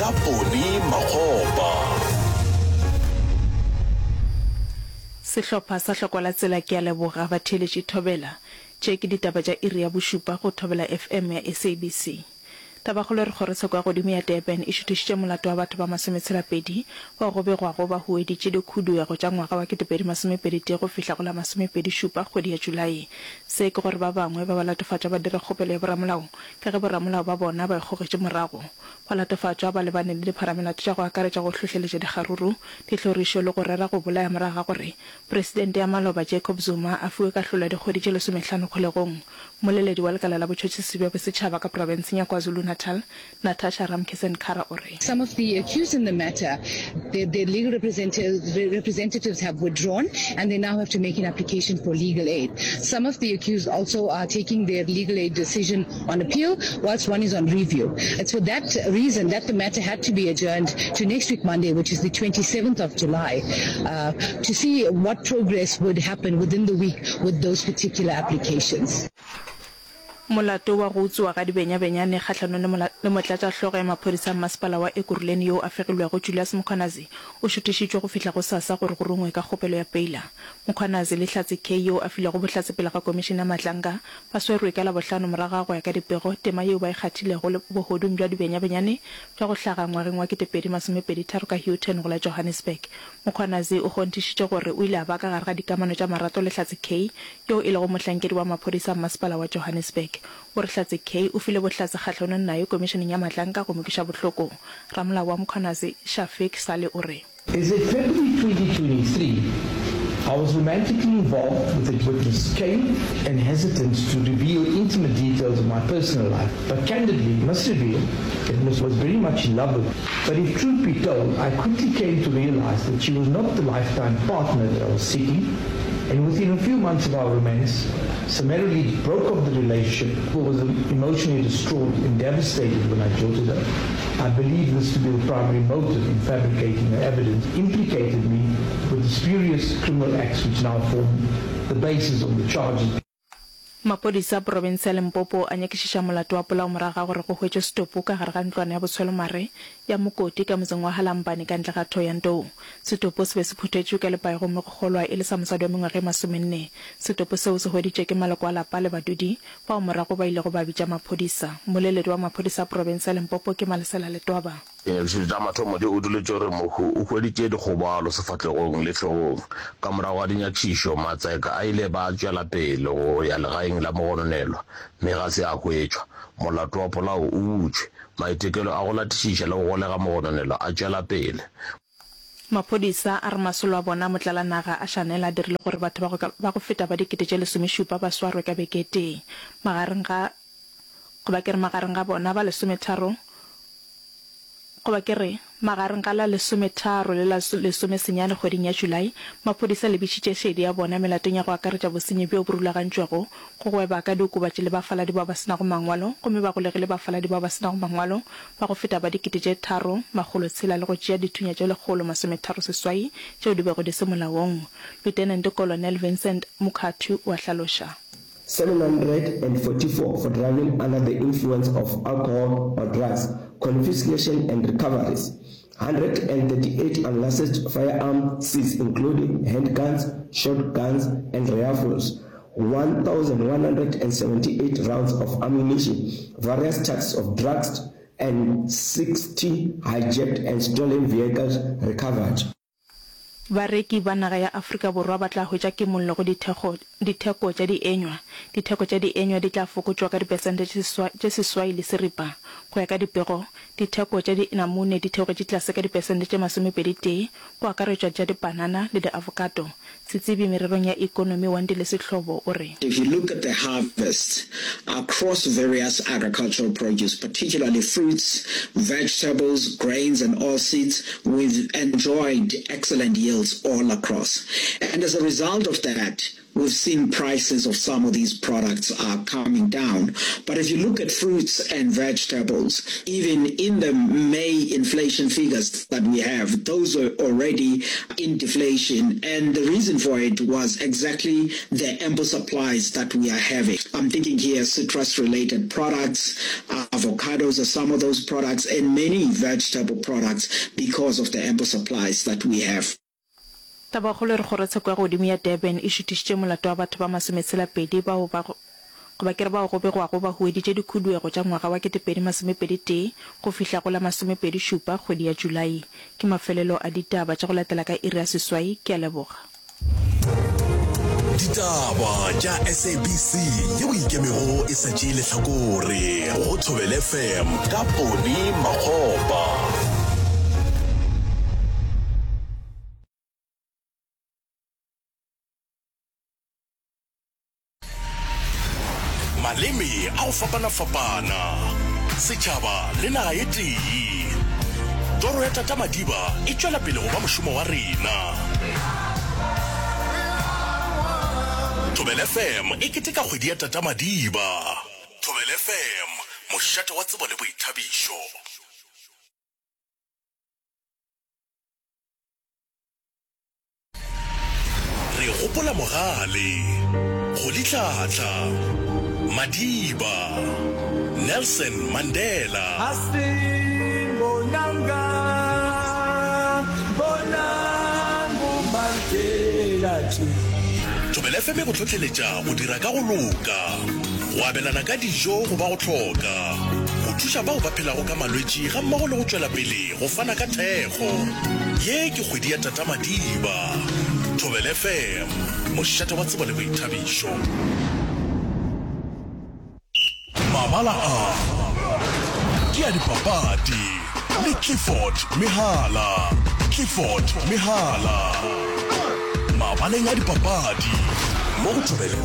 Ka Ponny Makgopa. Sehlopha sa Hlokwa la Tsela ke a leboga batheeletši Thobela. Tše ke ditaba tša iri ya bošupa go Thobela FM ya SABC. Tabakgolo e re kgorotsheko ya godimo ya Durban e šuthišitše molato wa batho ba masometshela-pedi bao go begwago ba hueditše dikhuduego tša ngwaga wa 2021 go fihla go la masomepedi-šupa kgwedi ya Julae. Se ke gore ba bangwe ba balatofatšwa ba dire kgopelo ya boramolao ka ge boramolao ba bona ba ikgogetše morago. Balatofatšwa ba lebane le dipharamelato tša go akaretša go hlohleletša dikgaruru, dihlorišo le go rera go bolaya morago ga gore Presidente ya maloba Jacob Zuma a fiwe kahlolo ya dikgwedi tše lesomehlano kgolegong. Mmoleledi wa lekala la botšhotšhisi bja bosetšhaba ka profenseng ya KwaZulu-Natal, Natasha Ramkisson-Kara o re. Some of the accused in the matter, their, their legal representatives have withdrawn and they now have to make an application for legal aid. Some of the accused also are taking their legal aid decision on appeal, whilst one is on review. It's for that reason that the matter had to be adjourned to next week Monday, which is the 27th of July, uh, to see what progress would happen within the week with those particular applications. Molato wa go utswiwa ga dibenyabenyane kgahlanong le motlatšahlogo ya maphodisa a mmasepala wa Ekurhuleni yoo a fegilwego Julius Mkhwanazi o šuthišitšwe go fihla gosasa gore go rungwe ka kgopelo ya peila. Mkhwanazi le Hlatse Kay yoo a filego bohlatse pele ga komišene ya Madlanga ba swerwe ka Labohlano morago ga go ya ka dipego tema yeo ba e kgathilego le bohodung bja dibenyabenyane bja go hlaga ngwageng wa 2023 ka Houghton go la Johannesburg. Mkhwanazi o kgonthišitše gore o ile a ba ka gare ga dikamano tša marato le Hlatse Kay, yoo e lego mohlankedi wa maphodisa a mmasepala wa Johannesburg. O re Hlatse Kay o file bohlatse kgahlanong naye komišeneng ya Madlanka go mo kweša bohloko. Ramolao wa Mkhwanazi, Shafiq Salie o re. Is it February 2023, I was romantically involved with a witness Kay and hesitant to reveal intimate details of my personal life, but candidly must reveal that Ms was very much in love with me. But if truth be told, I quickly came to realize that she was not the lifetime partner that I was seeking, and within a few months of our romance, summarily broke off the relationship, who was emotionally distraught and devastated when I jilted her. I believe this to be the primary motive in fabricating the evidence implicated me with the spurious criminal acts which now form the basis of the charges. Maphodisa a profense ya Limpopo a nyakišiša molato wa polao morago ga gore go hwetšwe setopo ka gare ga ntlwana ya botshwelomare ya Mokoti ka motseng wa Halambane ka ntle ga Thohoyandou. Setopo se be se phuthetšwe ka lepai gomme go kgolwa e le sa mosadi wa mengwaga e masomenne. Setopo seo se hweditšwe ke maloko a lapa le badudi bao morago ba ilego ba bitša maphodisa. Mmoleledi wa maphodisa a profense ya Limpopo ke Malesela Letwaba. Dinyakišišo tša mathomo di utolotše gore mohu o hweditše dikgobalo sefahlegong le hlogong. Ka morago ga dinyakišišo, matseka a ile ba tšwela pele go ya legaeng la mogononelwa mme ga se a hwetšwa. Molato wa polao o butšwe. Maitekelo a go latišiša le go golega mogononelwa a tšwela pele. Maphodisa a re masolo a bona a motlalanaga a Chanel a dirile gore batho ba go ba go feta ba 1017 ba swarwe ka beke e tee. Magareng ga goba ke re magareng ga bona ba lesometharo Goba ke re, magareng ga la lesometharo le la lesomesenyane kgweding ya Julae, maphodisa a lebišitše šedi ya bona melatong ya go akaretša bosenyi bjo bo rulagantšwego, go gweba ka diokobatši le bafaladi bao ba se nago mangwalo, gomme ba golegile bafaladi bao ba se nago mangwalo ba go feta ba 3600 le go tšea dithunya tše 138 tšeo di bego di se molaong. Lieutenant Colonel Vincent Mukhathu o a hlaloša. 744 for driving under the influence of alcohol or drugs, confiscation and recoveries, 138 unlicensed firearm seized including handguns, shotguns and rifles, 1,178 rounds of ammunition, various types of drugs and 60 hijacked and stolen vehicles recovered. Bareki ba naga ya Afrika Borwa ba tla hwetša kimollo go dithekgo ditheko tša dienywa. Ditheko tša dienywa di tla fokotšwa ka dipersente tše seswai le seripa. Go ya ka dipego, ditheko tša dinamune di theogetše tlase ka dipersente tše masomepedi-tee, go akaretšwa tša dipanana le diavokato. Setsebi mererong ya ekonomi Wandile Sehlobo o re. If you look at the harvest across various agricultural produce, particularly fruits, vegetables, grains and oilseeds, we've enjoyed excellent yields. vegetables all across. And as a result of that, we've seen prices of some of these products are coming down. But if you look at fruits and vegetables, even in the May inflation figures that we have, those are already in deflation. And the reason for it was exactly the ample supplies that we are having. I'm thinking here citrus-related products, avocados are some of those products, and many vegetable products because of the ample supplies that we have. Tabakgolo e re Kgorotsheko ya Godimo ya Durban e šuthišitše molato wa batho ba masometshela-pedi bao ba goba ke re bao go begwago ba hueditše dikhuduego tša ngwaga wa 2021 go fihla go la masomepedi-šupa kgwedi ya Julae. Ke mafelelo a ditaba tša go latela ka iri ya seswai. Ke a leboga. Ditaba tša SABC yeo e ikemego e sa tšee lehlakore go Thobela FM ka Poni Makgopa. Maleme a go fapana-fapana, setšhaba le naga e tee. Toro ya Tata Madiba e tšwela pele go ba mošomo wa rena. Thobela FM e keteka kgwedi ya Tata Madiba. Thobela FM, mošate wa tsebo le boithabišo. Re gopola Mogale, Rolihlahla, Madiba, Nelson Mandela. Thobela FM e go hlohleletša go dira ka go loka, go abelana ka dijo go ba go hloka, go thuša bao ba phelago ka malwetši gammogo le go tšwela pele Go fana ka thekgo. Ye ke kgwedi ya Tata Madiba. Thobela FM, mošate wa tsebo le boithabišo. Mabala a ke a dipapadi le Clifford Mehala. Clifford Mehala. Mabaleng a dipapadi mo go Thobela.